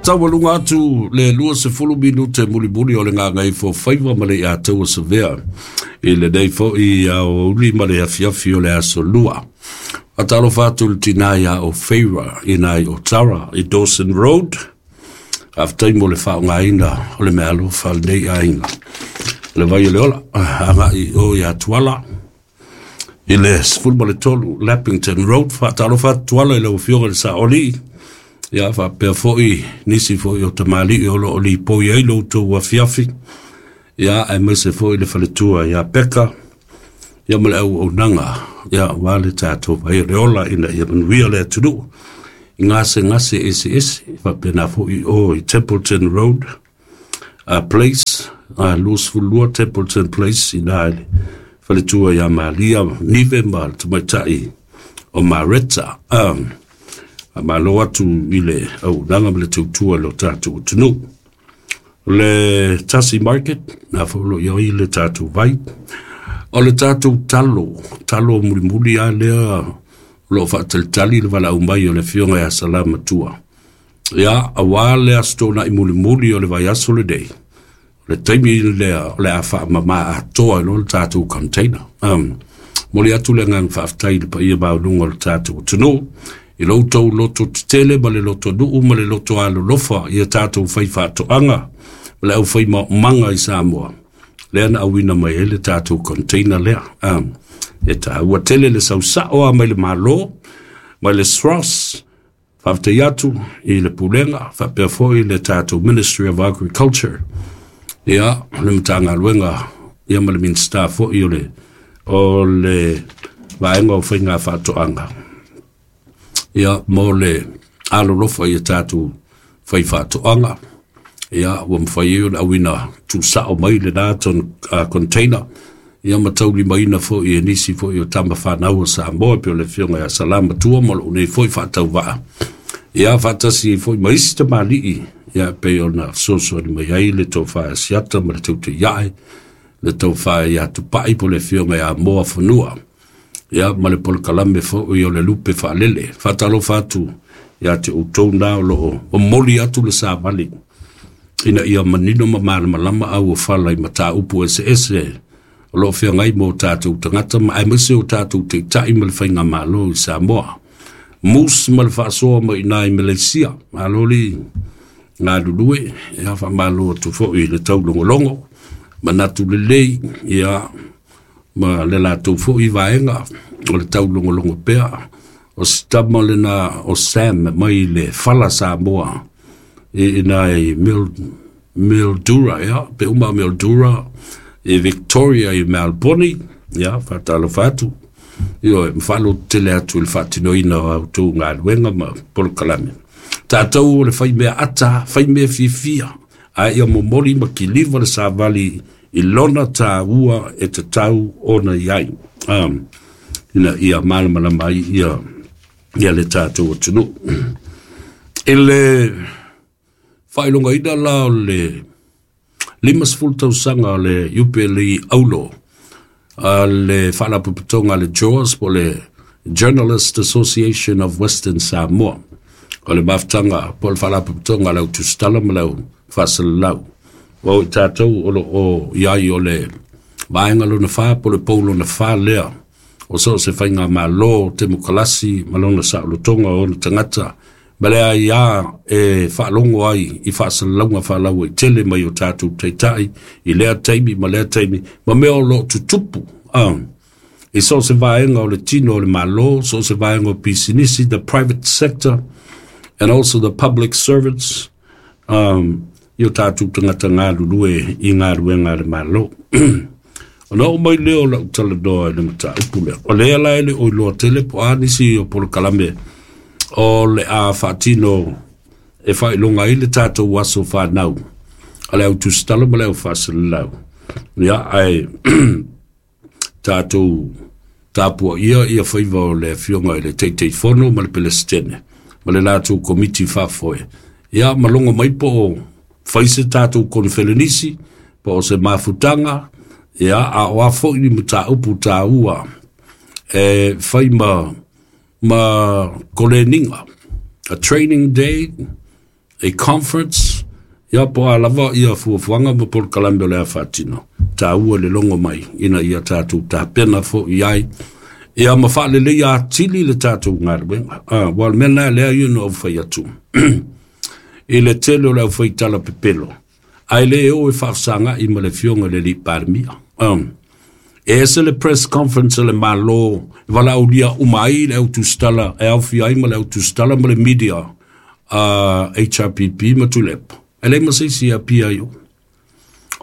Taualuga atu le 20 minute mulimuli o le gagaifo faiva ma le Iataua Savea i lenei foi aoauli ma le afiafi o le aso Lua. Faatalofa atu i le tina ia o Feira i nai o Tara i Dawson Road. Faafetai mo le faaaogaina o le meaalofa a lenei aiga. Le vai o le ola, agai o ia Tuala i le 13 Lappington Road. Faatalofa atu Tuala i lau Afioga i le Saolii, ia faapea foi nisi foi o tamalii o lo o lipoi ai lo outou afiafi, ia aemaise foi le faletua ia Peka, ia ma le auaunaga, ia aua le tatou vai o le ola ina ia manuia le atunuu i gasegase eseese, faapena foi o i Templeton Road Place, 22 Templeton Place, ina i le faletua ia Malia Nive ma le tamaitai o Mareta. Malo atu i le auaunaga ma le tautua i lo tatou atunuu. Le Tasi Market, na foi lo i ai le tatou vai. O le tatou talo, talo mulimuli a lea o lo o faatalitali le valaau mai o le afioga ia Salamatua. Ia, aua le Aso Toonai mulimuli o le vaiaso lenei, o le taimi lea o le a faamama atoa ai loa le tatou container. Momoli atu le agaga faafetai i le paia maualuga o le tatou atunuu, i lo outou loto tetele ma le loto nuu ma le loto alolofa i a tatou faifaatoaga ma le aufai maomaga i Samoa, lea na auina mai ai le tatou container lea. E taua tele le sausao a mai le Malo, mai le SROS, faafetai atu i le Pulega, faapea foi le tatou Ministry of Agriculture, ia, le Matagaluega, ia ma le Minisita foi o le, o le Vaega o Faiga Faatoaga, ia, mo le alolofa i a tatou faifaatoaga, ia, ua mafai ai ona auina tuusao mai lena container, ia ma taulimaina foi e nisi foi o tama fanau o Samoa, pei o le afioga ia Salamatua ma lou nei foi faatauvaa, ia faatasi ai foi ma isi tamalii, ia pei ona fesoasoani mai ai le tofa ia Siata ma le Tautaiae, le tofa ia Tupai po o le afioga ia Moa Fanua, ia ma le polokalame foi o le Lupe Faalele. Faatalofa atu ia te outou na o lo o momoli atu le savali ina ia manino ma malamalama auofala i mataupu eseese o lo o feagai ma o tatou tagata ma aemaise o tatou taitai ma le faigamalo i Samoa. Moose ma le faasoa mai i Malaysia. Malo le galulue, ia faamalo atu foi i le taulogologo, manatu lelei, ia ma le latou foi vaega o le taulogologo pea. O si tama lena o Sam mai le Fala Samoa i ina i Mildura, ia, pe uma Mildura i Victoria i Melbourne, ia, faatalofa atu. Ioe, ma faalototele atu i le faatinoina o a outou galuega ma polokalame. Tatou o le faimea ata, faimea fiafia, a ia momoli ma kiliva le savali i lona tāua e tatau ona i ai. Ina ia malamalama ai ia, ia le tatou atunuu. I le faailogaina la o le 50 tausaga o le Iupeli Aulo a le faalapotopotoga a le JAWS po o le Journalist Association of Western Samoa. O le mafutaga po o le faalapotopotoga a le au tusitala ma le au faasalalau. O i tatou o lo o i ai o le vaega lona fa po o le pou lona fa lea o so o se faigamalo temokalasi ma lona saolotoga o ona tagata ma le aia e faalogo ai i faasalalauga faalauaitele mai o tatou taitai i lea taimi ma lea taimi ma mea o lo o tutupu i so o se vaega o le tino o le Malo, so o se vaega o pisinisi, the private sector and also the public servants, i o tatou tagata galulue i galuega a le Malo. Ona oo mai lea o lau talanoa i le mataupu lea. O lea la e le o iloa tele po o a nisi o polokalame o le a faatino e faailoga ai le tatou aso fanau a le au tusitala ma le au faasalalau. Ia, ae tatou tapuaia ia faiva o le afioga i le Taitaifono ma le Pelesitene ma le latou komiti faafoe. Ia, ma logo mai po o fai se tatou konferenisi, po o se mafutaga, ia, a o a foi ni mataupu tāua e fai ma koleniga, a training day, a conference, ia po o a lava ia fuafuaga ma polokalame o le a faatino, taua le logo mai ina ia tatou tapena fo'i ai ia ma faaleleia atili le tatou galuega. Ua o le mea lena lea ia na ou fai atu i le tele o le aufaitala pepelo, ae lē o e faafesaga'i ma le afioga i le alii Palemia. E ese le press conference a le Malo e valaaulia uma ai le au tusitala, e aofia ai ma le au tusitala ma le media a HRPP ma Tuilaepa, e leai ma se isi e apia ai o.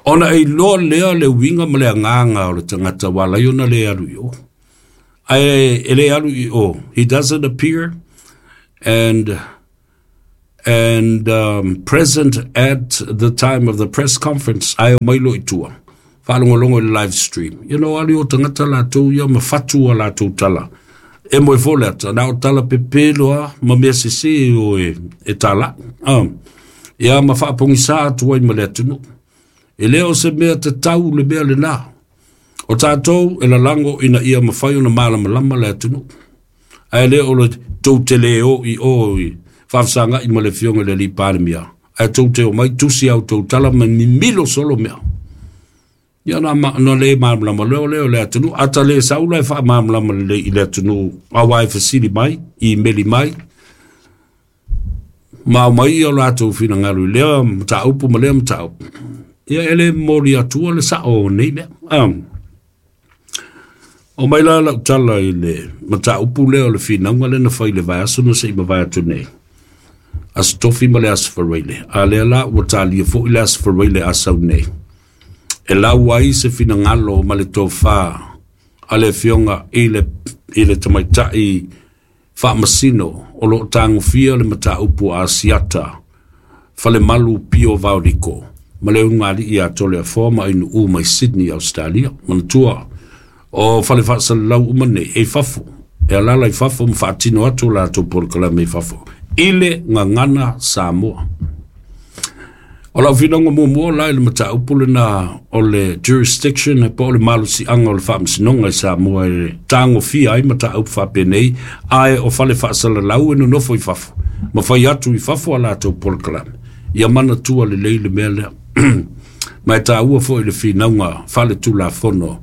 Ona e iloa lea le uiga ma le agaga o le tagata ua ala ai ona lē alu i o. Ae e lē alu i o, he doesn't appear and present at the time of the press conference, ae o mai loa i tua, faalogologo i le live stream. Alu i o tagata latou ia ma fatu a latou tala. E moe fo le ata, na o tala pepelo a, ma mea sese o e tālai. Ia ma faapogisa atu ai ma le atunuu. E le o se mea tatau le mea lena. O tātou e lalago ina ia mafai ona malamalama le atunuu. Ae le o le tou te le o i o i faafesaga'i ma le afioga i le alii Palemia, ae tou te omai tusi au tou tala ma mimilo solo mea. Ia na, na le malamalama leo lea o le atunuu. Ata le saula e faamalamalama lelei i le atunuu, auā e fesili mai, imeli mai, ma aumai ia o latou finagalo i lea mataupu ma lea mataupu. Ia e le momoli atua le sa'o o nei mea. O mai la lau tala i le mataupu lea o le finauga lea na fai i le vaiaso na se'i mavae atu nei, Aso Tofi ma le Aso Faraile, a lea la ua talia fo'i le Aso Faraile a sau nei, e lau ai se finagalo ma le tofā a le afioga i le tamaitai faamasino o lo'o tagofia le mataupu a Asiata Falemalu Pio Vaoliko ma le ulugalii ia Toleafoa ma Ainu'u mai Sydney, Australia. Manatua, o fale faasalalau uma nei e i fafo, e alala i fafo ma faatino atu o latou polokalame i fafo i le gagana Samoa. O lau finauga muamua la i le mataupu lena o le jurisdiction po o le malosiaga o le faamasinoga i Samoa e tagofia ai mataupu faapenei, ae o fale faasalalau e nonofo i fafo ma fai atu i fafo a latou polokalame. Ia manatua lelei le mea lea, ma e taua fo'i le finauga faletulafono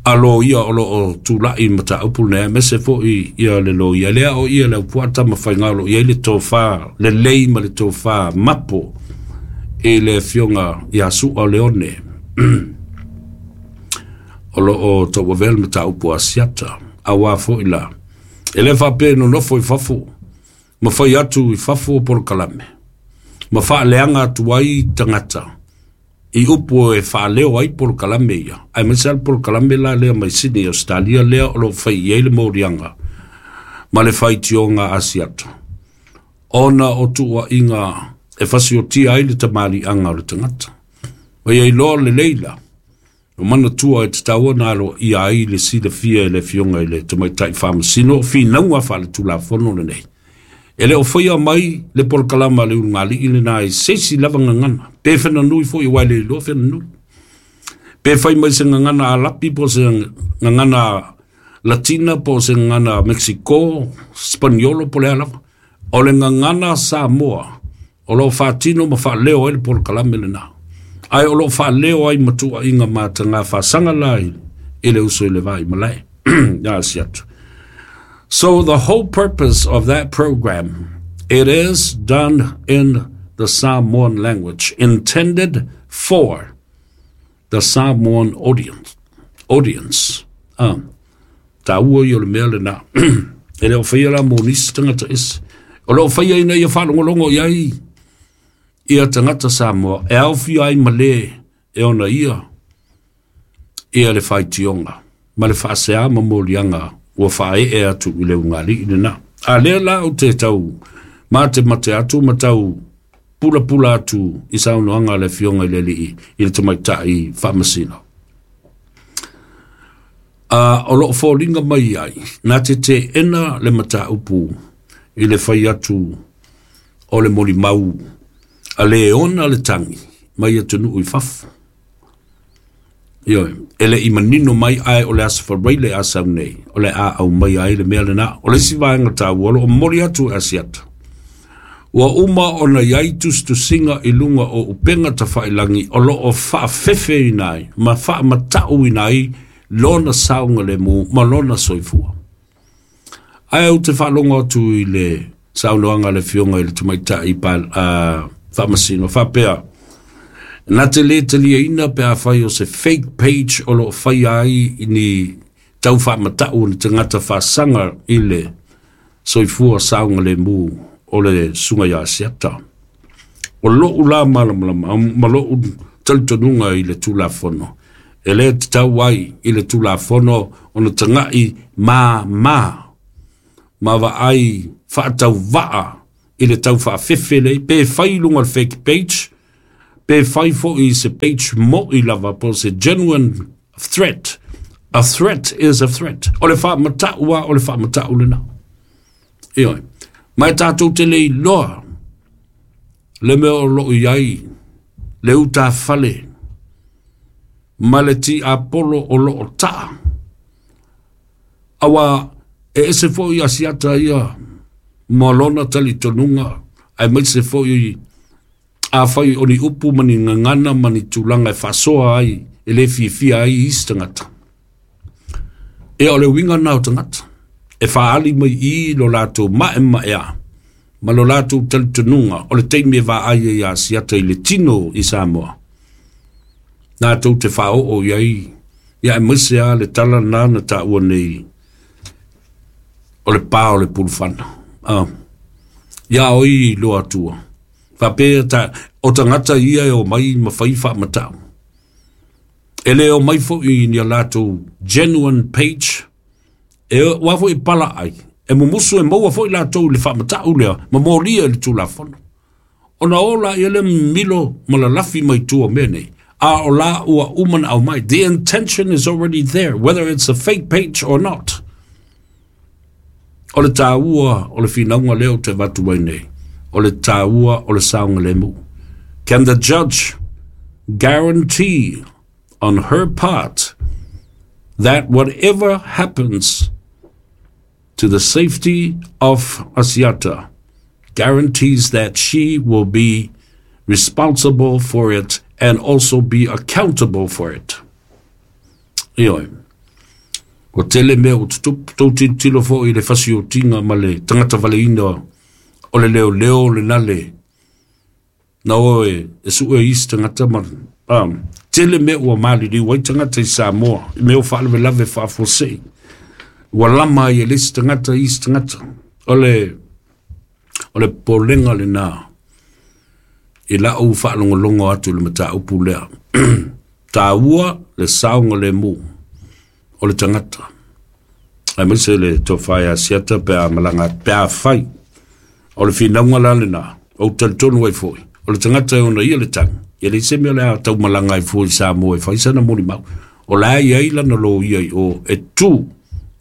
a loia o loo tula'i mataupu lenei, aemaise fo'i ia le loia lea o ia le Aupuata ma Faiga o loo i ai le tofā lelei ma le tofā mapo i le afioga ia Su'a Leone o loo tauavea le mataupu Asiata. Auā fo'i la e lē faapea nonofo i fafo ma fai atu i fafo polokalame ma faaleaga atu ai tagata i upu e faaleo ai polokalame ia, aemaise a le polokalame la lea mai Sydney, Australia, lea o loo fai i ai le moliaga ma le faitioga Asiata, ona o tuua'iga e fasiotia ai le tamali'aga o le tagata. Ma ia iloa lelei la o manatua e tatau ona aloaia ai le silafia e le afioga i le tamaitai faamasino o finauga faaletulafono lenei. E le o faia mai le polokalama a le ulugalii lena i se isi lava gagana, pe fenanui foi, ua e le iloa fenanui. Pe fai mai se gagana Alapi po o se gagana Latina po o se gagana Mexico, Spaniolo po o le a lava. O le gagana Samoa o loo faatino ma faaleo ai le polokalame lena. Ae o loo faaleo ai ma tuua'iga matagā faasaga la i le uso i le va i malae ia Asiata. So the whole purpose of that program, it is done in the Samoan language, intended for the Samoan audience. Audience. Taua ia o le mea lena. E le o faia la mo nisi tagata ese. O loo faia ina ia faalogologo i ai ia tagata Samoa e aofia ai ma le e ona ia ia le faitioga ma le faasea ma moliaga ua faaee atu i le ulugalii lena. A lea la ou te tau matemate atu ma tau pulapula atu i saunoaga a le afioga i le alii i le tamaitai faamasino. O loo foliga mai ai na te teena le mataupu i le fai atu o le molimau a le ona le tagi mai atunuu i fafo. Ioe, e le i manino mai, ae o le Aso Faraile a sau nei o le a aumai ai le mea lena. O le isi vaega taua o loo momoli atu e Asiata. Ua uma ona i ai tusitusiga i luga o upega tafailagi o lo o faafefeina ai ma faamatauina ai lona saogalemu ma lona soifua. Ae ou te faalogo atu i le saunoaga a le Afioga i le Tamaitai Faamasino faapea, na te le taliaina pe afai o se fake page o lo o faia ai ni tau faamatau o ni tagata faasaga i le soifua saogalemu o le Susuga ia Asiata. O lou la malamalama ma lou talitonuga i le Tulafono, e le tatau ai i le Tulafono ona tagai māmā ma vaai faatauvaa i le tau faafefe lea, pe fai i luga o le fake page, pe fai foi i se page mo'i lava po o se genuine threat. A threat is a threat. O le faamatau lava o le faamatau lena. Ioe. Ma e tatou te le iloa le mea o lo o i ai le utafale ma le tiapolo o lo o taa. Aua e ese foi Asiata ia ma lona talitonuga, aemaise foi afai o ni upu ma ni gagana ma ni tulaga e faasoa ai e le fiafia ai isi tagata. Ia o le uiga lena o tagata e faaali mai i lo latou maemaea ma lo latou talitonuga o le taimi e vaai ai ia Asiata i le tino i Samoa. Latou te faaoo i ai, ia aemaise lava le tala lena na taua nei o le pa o le pulufana. Ia o i loa atua. Faapea ta, o tagata ia e omai ma fai faamatau. E le omai foi ni a latou genuine page, e ua foi pala ai, e mumusu e maua foi latou i le faamatau lea, ma molia i le Tulafono. Ona ola ia le milo ma lalafi mai tua o mea nei. A o la ua uma na aumai. The intention is already there, whether it's a fake page or not. O le tāua o le finauga lea ou te avatu ai nei, o le tāua o le saogalemu. Can the judge guarantee on her part that whatever happens to the safety of Asiata guarantees that she will be responsible for it and also be accountable for it? Ioe. Ua tele mea ua tutupu, tou tilotilo foi i le fasiotiga ma le tagata valeina o le leoleo lena le na o e sue isi tagata ma tele mea ua maliliu ai tagata i Samoa i mea o faalavelave faafuasei. Ua lama ai e le isi tagata isi tagata. O le popolega lena i lau faalogologo atu i le mataupu lea. Tāua le saogalemu o le tagata. Aemaise le tofa ia Asiata pe a malaga pe a fai. O le finauga la lena, ou talitonu ai foi. O le tagata e ona ia le tagi. Ia leai se mea o le a tau malaga ai fua i Samoa e fai sana molimau. O la e i ai lana loia i o e tu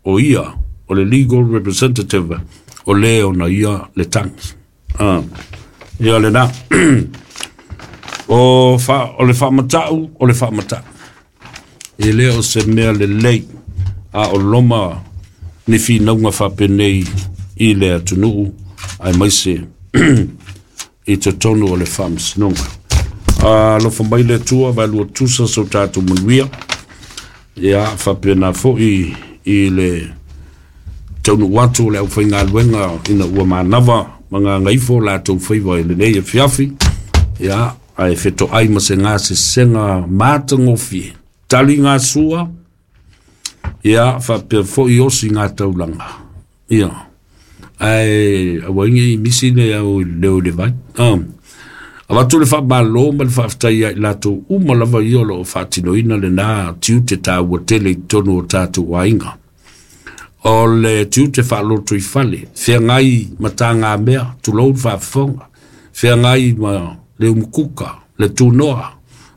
o ia o le legal representative o le ona ia le tagi. Ia lena. O le faamatau, o le faamatau. E le o se mea lelei a o loma ni finauga faapenei i le atunuu aemaise i totonu o le faamasinoga. Alofa mai le Atua, vaelua tusa so tatou manuia. Ia faapena foi i le taunuu atu o le aufaigaluega ina ua manava ma gagaifo latou faiva i lenei afiafi. Ia, ae fetoai ma se gasesega matagofie. Tali ngā sua, ia, faapea foi osi ngā taulaga. Ia, ae aua nei misi le au leo i le vai. Avatu le faamalo ma le faafetai ia i latou uma lava ia o lo o faatinoina lena tiute tāua tele i totonu o tatou aiga. O le tiute faaloto i fale, feagai ma tāgamea, tulou le faafofoga, feagai ma le umukuka, le tunoa,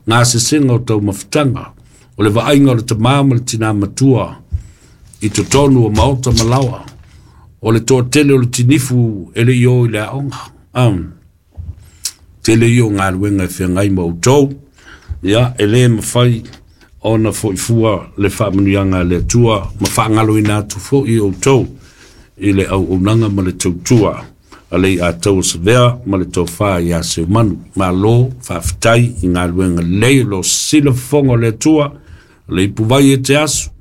ngā sesega o taumafataga, o le vaaiga o le tamā ma le tinā matua i totonu o maota ma laoa, o le toatele o le tinifu e le i o i le aoga. Tele ia o galuega e feagai ma outou, ia, e le mafai ona foifua le faamanuiaga a le Atua ma faagaloina atu foi outou i le auaunaga ma le tautua. a Leiataua Savea ma le tofa ia Seumanu. Malo faafetai i galuega lelei o lo o sila fofoga o le Atua, o le ipuvai e te aso,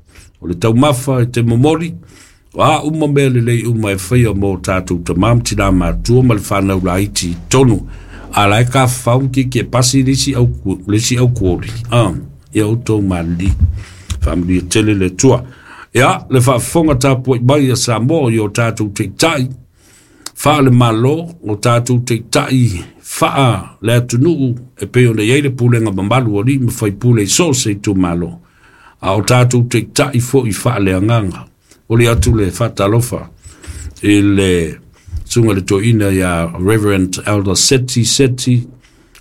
o le taumafa e te momoli, o a uma mea lelei uma e faia mo tatou tamā ma tinā matua ma le fanau laiti i totonu. A la e tafafao ma tietie pasi le isi au, le isi aukuoli, ia outou malili. Faamanuia tele le Atua. Ia, le faafofoga tapuai mai a Samoa i o tatou taitai faale-Malo, o tatou taitai faa le atunuu e pei ona i ai le pulega mamalu a alii ma faipule i so o se itumalo, a o tatou taitai foi faaleagaga. Momoli atu le faatalofa i le susuga i le toeaina ia Reverend Elder Seti Seti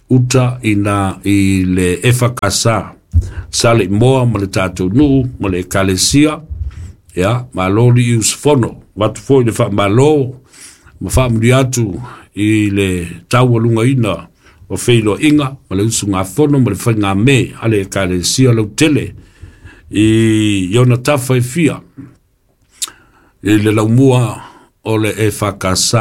Uta ina i le EFKS Saleimoa ma le tatou nuu ma le ekalesia. Ia, malo lii usufono. Avatu foi le faamalo ma faamanuia atu i le taualugaina o feiloaiga ma le usugafono ma le faigamē a le ekalesia lautele i ona tafa e fia i le laumua o le EFKS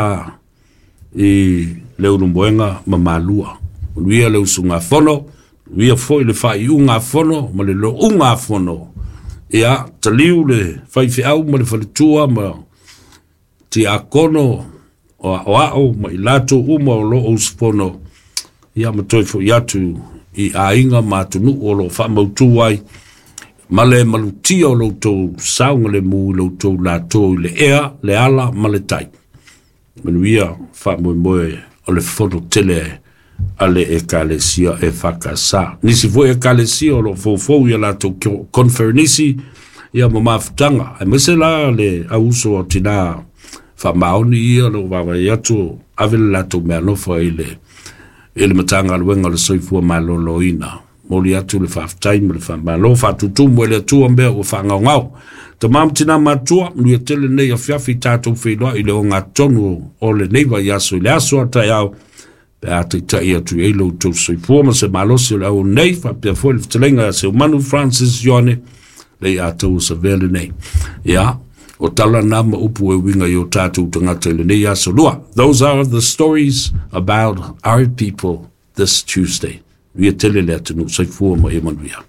i le Ulumoega ma Malua. Manuia le usugafono, manuia foi le faaiuga fono ma le louga fono. Ia, taliu le faifeau ma le faletua ma tiakono o aoao ma i latou uma o lo o usufono, ia ma toe foi atu i aiga ma atunuu o lo o faamautu ai ma le malutia o lo outou saogalemu i lo outou latou i le ea, le ala ma le tai. Manuia faamoemoe o le fono tele a le ekalesia EFKS. Nisi foi ekalesia o lo o foufou ia latou conferenisi ia ma mafutaga. Aemaise la le auuso o tinā faamaoni ia o lo o vaavaai atu ave le latou meaalofa i le Matagaluega o le Soifua Maloloina. Momoli atu le faafetai ma le faamalo, faatutumu e le Atua mea ua faagaogao. Tama ma tina matua, manuia tele lenei afiafi, tatou feiloai i le ogatotonu o lenei vaiaso i le aso a taeao, pe a taitai atu i ai lo outou soifua ma se malosi o le au nei, faapea foi le fetalaiga ia Seumanu Francis Ioane, Leiataua Savea lenei. Ia, o tala na ma upu e uiga i o tatou tagata i lenei aso lua. Those are the stories about our people this Tuesday. Manuia tele le atunuu, soifua ma ia manuia.